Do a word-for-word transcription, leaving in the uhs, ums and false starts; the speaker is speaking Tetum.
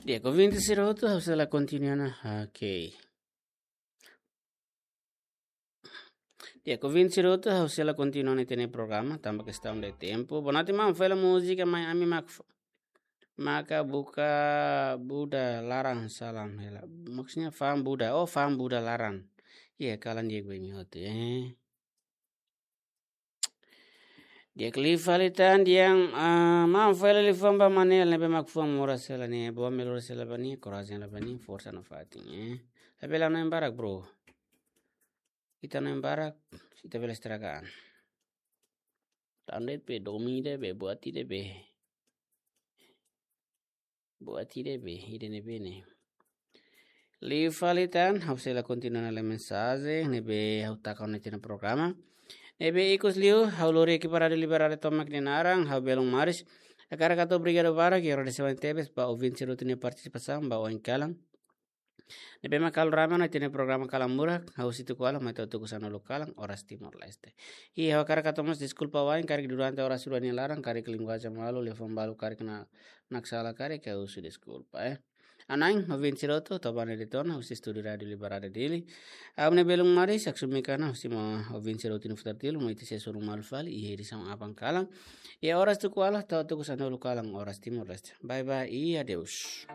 Di'ak, ouvinte sira hotu, ha'u sei la kontinua ona. Ok. Di'ak, ouvinte sira hotu, ha'u sei la kontinua ona ita-nia programa, tanba kestaun de tempu. Bonati maun fó hela múzika, mai ami mak f-, maka buka Buda laran salam hela. Maksudnya fa'an Buda. Oh, fa'an Buda laran. Iya, kalan di'ak ba imi hotu, eh. Di'ak, liu fali tan di'ak, ah, maun fó hela liafuan ba Manel ne'ebé mak fuan moras hela ne'e, boa melhoras hela ba nia, korajen hela ba nia, forsa nafatin, eh. Labele hanoin barak, bro. Ita hanoin barak, ita bele estraga an. Tan de'it be, domin de'it be, buat ida be. Buat ida be, ida ne'ebé ne'e. Liu fali tan, ha'u sei la kontinua ona lee mensajen ne'ebé ha'u taka ona iha ita-nia programa. Ne'ebé ikus liu, ha'u lori ekipa Rádiu Liberdade tomak nia naran, ha'u belun Maris. Hakarak hato'o obrigadu barak, i agradesimentu tebes ba ouvinte sira hotu nia partisipasaun ba oin kalan. Ne'ebé mak halo rame ona ita-nia programa Kalan Murak, ha'u Situ Kuala, mai to'o tuku sanulu kalan, oras Timor-Leste. I ha'u hakarak hato'o mós deskulpa wa'in, karik durante oras rua nia laran, karik linguajen malu, liafuan balu, karik na, naksala, karik ha'u husu deskulpa, eh. Ha'u-nia naran ouvinte sira hotu, Tobane Dayton, husi estúdiu Rádiu Liberdade Dili. Ha'u-nia belun Maris, Aksumi Kana, husi maun ouvinte sira hotu nia futar tilu, mai ita sei hasoru malu fali, iha edisaun aban kalan. Iha oras tuku ualu, to'o tuku sanulu kalan, oras Timor-Leste. Bye bye, i adeus.